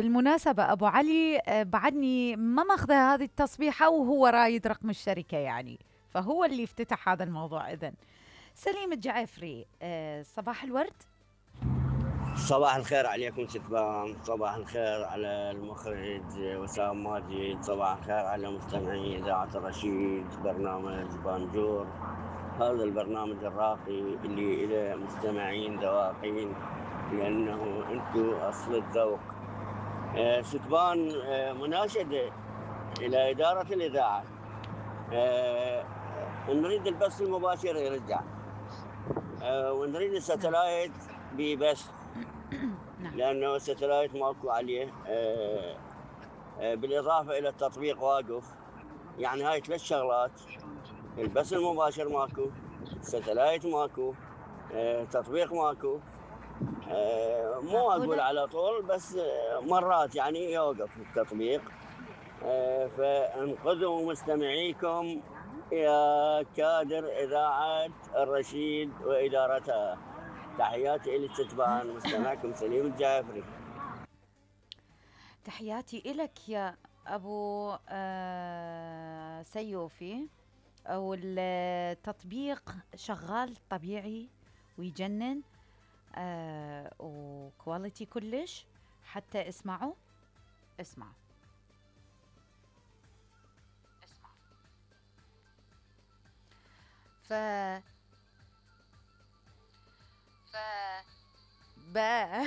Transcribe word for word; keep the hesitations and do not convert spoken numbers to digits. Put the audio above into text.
بالمناسبة أبو علي آه، بعدني ما ماخذة هذه التصبيحة وهو رايد رقم الشركة يعني، فهو اللي افتتح هذا الموضوع. إذن سليم الجعفري، آه، صباح الورد. صباح الخير عليكم ستبان، صباح الخير على المخرج وسام ماجد، صباح الخير على مستمعي إذاعة الرشيد، برنامج بانجور. هذا البرنامج الراقي اللي إلى مستمعين ذواقين، لأنه أنتو أصل الذوق. آه، ستبان، آه، مناشدة إلى إدارة الإذاعة. آه، نريد البث المباشر يرجع، آه، ونريد نعم. الستلايت ببث، نعم. لأنه الستلايت ماكو عليه. آه، آه، بالإضافة إلى التطبيق واقف. يعني هاي ثلاث شغلات: البث المباشر ماكو، الستلايت ماكو، آه، تطبيق ماكو. آه، مو أقول معقولة؟ على طول، بس آه، مرات يعني يوقف التطبيق. آه، فانقذوا مستمعيكم يا كادر إذاعة الرشيد وإدارتها. تحياتي إلى الستبان، مستمعكم سليم الجعفري. تحياتي إلك يا أبو آه سيوفي. أو التطبيق شغال طبيعي ويجنن، آه وكواليتي كلش. حتى اسمعوا، اسمع اسمع. ف ف با